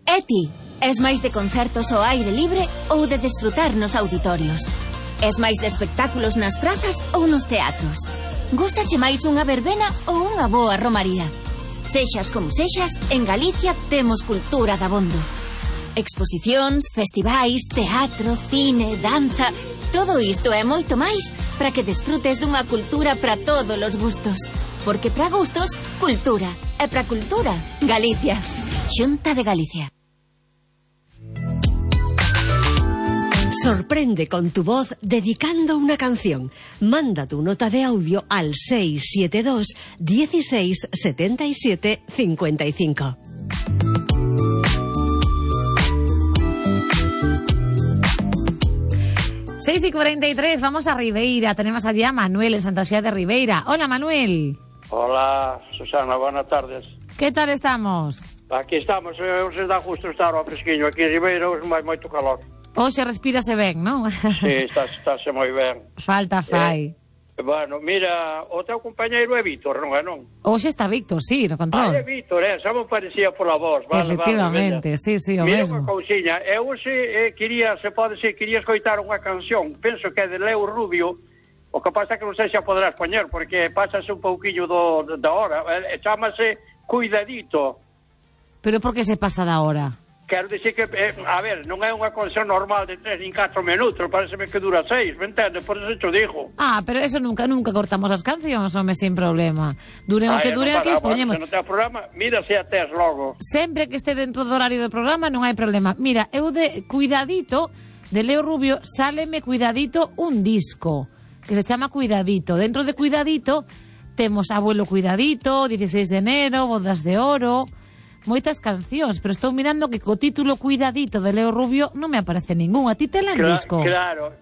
E ti, es máis de concertos ao aire libre ou de desfrutar nos auditorios? Es máis de espectáculos nas prazas ou nos teatros? Gústache máis unha verbena ou unha boa romaría? Sexas como sexas, en Galicia temos cultura dabondo. Exposicións, festivais, teatro, cine, danza... Todo isto e moito máis para que desfrutes dunha cultura para todos os gustos. Porque para gustos, cultura. E para cultura, Galicia. Xunta de Galicia. Sorprende con tu voz dedicando una canción. Manda tu nota de audio al 672 16 77 55. Seis y 43, vamos a Ribeira. Tenemos allí a Manuel en Santa Xea de Ribeira. Hola, Manuel. Hola, Susana, buenas tardes. ¿Qué tal estamos? Aquí estamos, se dá justo estar ao fresquiño. Aquí en Ribeira hoxe vai moito calor. Hoxe respírase ben, non? Sí, estáse moi ben. Falta fai. Bueno, mira, o teu compañeiro é Víctor, non é non? Hoxe está Víctor, sí, no control. É Víctor, xa me parecía pola voz. Efectivamente, sí, o mira mesmo. Mira unha cousiña, eu quería escoitar unha canción, penso que é de Leo Rubio, o que pasa que non sei se a poderás poñer, porque pásase un pouquiño da hora, chámase Cuidadito. Pero por que se pasa da hora? Quero dicir que, a ver, non é unha canción normal de 3 nin 4 minutos, pareceme que dura 6, me entende? Por eso te digo. Ah, pero eso nunca cortamos as cancións, home, sin problema. Duren o que duren, aquí expoñemos. Se non ten programa, mira se a tes logo. Sempre que este dentro do horario do programa non hai problema. Mira, eu de Cuidadito, de Leo Rubio, sáleme Cuidadito un disco, que se chama Cuidadito. Dentro de Cuidadito temos Abuelo Cuidadito, 16 de enero, Bodas de Oro... moitas cancións, pero estou mirando que co título Cuidadito de Leo Rubio non me aparece ningún. A ti te la disco? Claro.